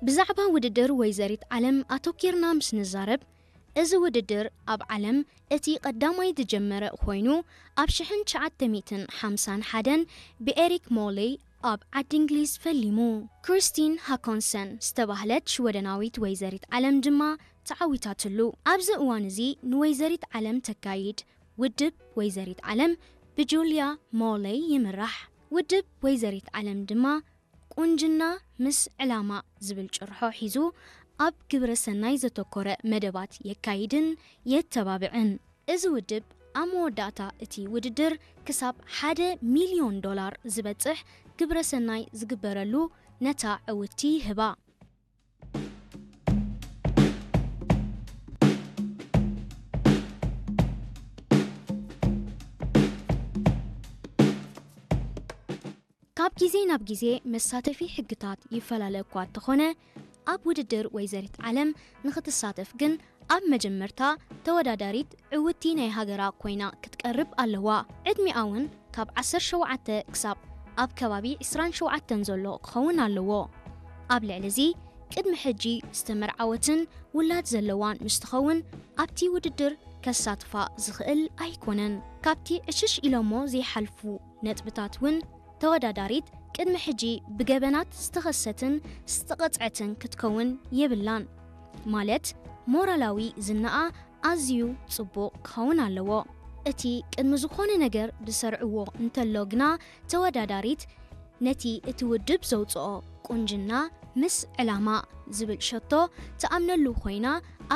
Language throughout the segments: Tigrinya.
ብዛዕባ ውድድር ወይዘሪት ዓለም ኣተኲርና ምስ ንዛረብ፣ እዚ ውድድር ኣብ ዓለም እቲ ቀዳማይ ዝጀመረ ኮይኑ፣ ኣብ ሽሕን ትሽዓተ ሚእትን ሓምሳን ሓደን ብኤሪክ ሞሌይ ኣብ ዓዲ እንግሊዝ ፈሊሙ። ክሪስቲን ሃኮንሰን ዝተባህለት ሽወደናዊት ወይዘሪት ዓለም ድማ ተዓዊታትሉ። ኣብዚ እዋን እዚ ንወይዘሪት ዓለም ተካይድ ውድብ ወይዘሪት ዓለም ብጁልያ ሞሌይ ይምራሕ። ውድብ ወይዘሪት ዓለም ድማ ቁንጅና ምስ ዕላማ ዝብል ጭርሖ ሒዙ ኣብ ግብረ ሰናይ ዘተኮረ መደባት የካይድን የተባብዕን። እዚ ውድብ ኣብ መወዳእታ እቲ ውድድር ክሳብ ሓደ ሚልዮን ዶላር ዝበጽሕ ግብረ ሰናይ ዝግበረሉ ነታ ዕውትቲ ይህባ። ካብ ግዜ ናብ ግዜ መሳተፊ ሕግታት ይፈላለ እኳ እንተኾነ፣ ኣብ ውድድር ወይዘሪት ዓለም ንኽትሳተፍ ግን ኣብ መጀመርታ ተወዳዳሪት ዕውቲ ናይ ሃገራ ኮይና ክትቀርብ ኣለዋ። ዕድሚኣ እውን ካብ ዓሰርተ ሸውዓተ ክሳብ ኣብ ከባቢ ዕስራን ሸውዓተን ዘሎ ክኸውን ኣለዎ። ኣብ ልዕሊ እዚ፣ ቅድሚ ሕጂ ዝተመርዓወትን ውላድ ዘለዋን ምስ ትኸውን፣ ኣብቲ ውድድር ከሳትፋ ዝኽእል ኣይኮነን። ካብቲ ዕሽሽ ኢሎሞ ዘይሓልፉ ነጥብታት እውን፣ ተወዳዳሪት ቅድሚ ሕጂ ብገበናት ዝተኸሰትን ዝተቐጽዐትን ክትከውን የብላን። ማለት፣ ሞራላዊ ዝናኣ ኣዝዩ ጽቡቕ ክኸውን ኣለዎ። እቲ ቅድሚ ዝኾነ ነገር ዝሰርዕዎ እንተሎ ግና፣ ተወዳዳሪት ነቲ እቲ ውድብ ዘውጽኦ ቁንጅና ምስ ዕላማ ዝብል ሸቶ ትኣምነሉ ኮይና፣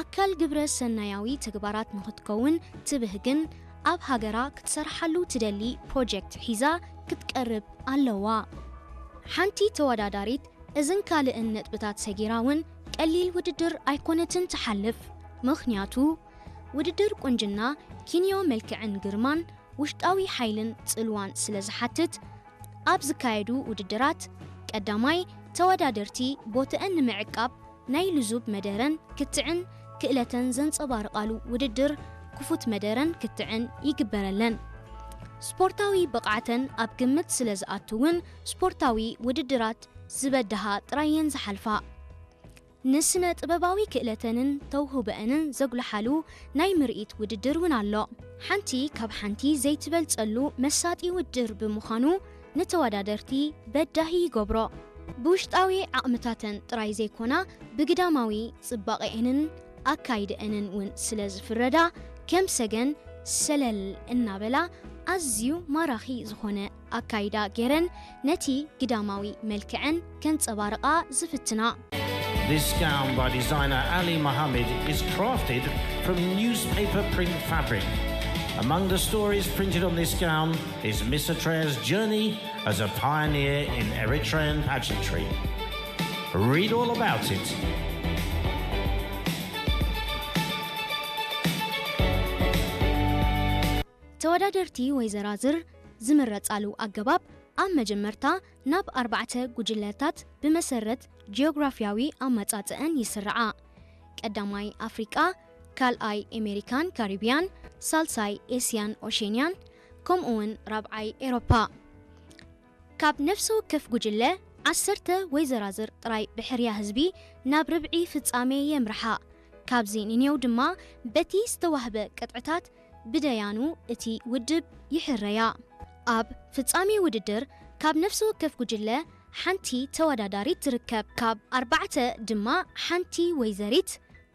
ኣካል ግብረ ሰናያዊ ተግባራት ንኽትከውን ትብህግን ኣብ ሃገራ ክትሰርሓሉ ትደሊ ፕሮጀክት ሒዛ ክትቀርብ ኣለዋ። ሓንቲ ተወዳዳሪት እዝን ካልእን ነጥብታት ሰጊራ እውን ቀሊል ውድድር ኣይኮነትን ትሓልፍ። ምኽንያቱ፣ ውድድር ቁንጅና ኪንዮ መልክዕን ግርማን ውሽጣዊ ሓይልን ጽልዋን ስለ ዝሓትት፣ ኣብ ዝካየዱ ውድድራት ቀዳማይ ተወዳደርቲ ቦትአን ንምዕቃብ ናይ ልዙብ መደረን ክትዕን ክእለተን ዘንጸባርቓሉ ውድድር ክፉት መደረን ክትዕን ይግበረለን። ስፖርታዊ ብቕዓተን ኣብ ግምት ስለ ዝኣቱ እውን ስፖርታዊ ውድድራት ዝበድሃ ጥራየን ዝሓልፋ። ንስነ ጥበባዊ ክእለተንን ተውህቦአንን ዘጉልሓሉ ናይ ምርኢት ውድድር እውን ኣሎ። ሓንቲ ካብ ሓንቲ ዘይትበልጸሉ መሳጢ ውድድር ብምዃኑ ንተወዳደርቲ በዳሂ ይገብሮ። ብውሽጣዊ ዓቕምታተን ጥራይ ዘይኮና ብግዳማዊ ጽባቐኤንን ኣካይደአንን እውን ስለ ዝፍረዳ ከም ሰገን ሰለል እናበላ ኣዝዩ ማራኺ ዝኾነ ኣካይዳ ገይረን ነቲ ግዳማዊ መልክዐን ከንጸባርቓ ዝፍትና። This gown by designer Ali Mohammed is crafted from newspaper print fabric. Among the stories printed on this gown is Miss Atrea's journey as a pioneer in Eritrean pageantry. Read all about it. ተወዳደርቲ ወይ ዘራዝር ዝምረጻሉ ኣገባብ ኣብ መጀመርታ ናብ ኣርባዕተ ጉጅለታት ብመሰረት ጂኦግራፊያዊ ኣመጻጽኣን ይስርዓ። ቀዳማይ ኣፍሪቃ፣ ካልኣይ ኤሜሪካን ካሪቢያን፣ ሳልሳይ ኤስያን ኦሼንያን፣ ከምኡውን ራብዓይ ኤሮፓ። ካብ ነፍሲ ወከፍ ጉጅለ ዓሰርተ ወይ ዘራዝር ጥራይ ብሕርያ ህዝቢ ናብ ርብዒ ፍጻሜ የምርሓ። ካብዚ ንኔው ድማ በቲ ዝተዋህበ ቅጥዕታት ብደያኑ እቲ ውድብ ይሕረያ። ኣብ ፍጻሜ ውድድር ካብ ነፍሲ ወከፍ ጉጅለ ሓንቲ ተወዳዳሪት ትርከብ። ካብ ኣርባዕተ ድማ ሓንቲ ወይዘሪት፣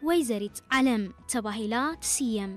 ወይዘሪት ዓለም ተባሂላ ትስየም።